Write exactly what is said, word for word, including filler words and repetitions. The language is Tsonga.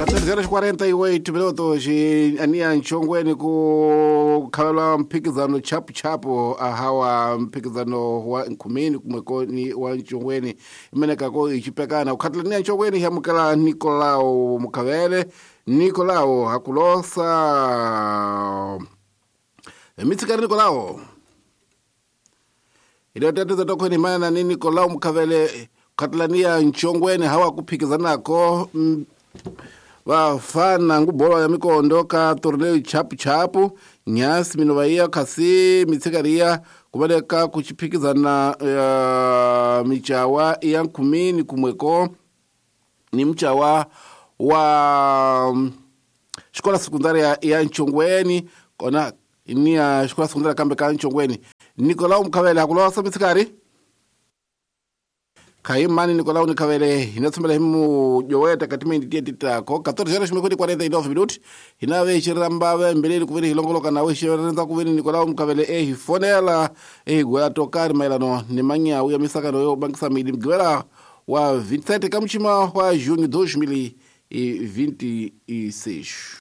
catorze horas quarenta e oito minutos ania Nchongweni ku khavelwa mphikizano chapu chapu ahawa mphikizano wa Nkhumini kumwekoni wa Nchongweni imenekako ichipekana ukhatela nia Nchongweni hyamukela Nicolau Mukhavele Nicolau hakulosa mitsikari Nicolau iliyoteteza tokhweni mana ni Nicolau Mukhavele khatlania Nchongweni hawa kuphikizanako mm, vafana ngubolo ya mikondo ka torneo chapu chapu nyasi minovaiya khasi mitsikariya kuvaleka kuchiphikizana uh, michawa ya Nkhumini kumweko ni mchawa wa um, xikola sekundaria ya Nchongweni kona ni ya xikola sekundaria kambe ka Nchongweni Nicolau Mukhavele hakulosa mitsikari khaimani Nicolau Nikhavele hinatsomela hi mujoweta katimindi tietitako catorze horas quarenta e nove minutos hinave xirambave mbeleni kuveni hilongoloka nawe xirenza kuveni Nicolau Mukhavele ehifonela ehigwela tokari maelano ni manyawu ya misakano yo bangisa mili mgivela wa vinte e sete kamuchima wa junho dois mil e vinte e seis.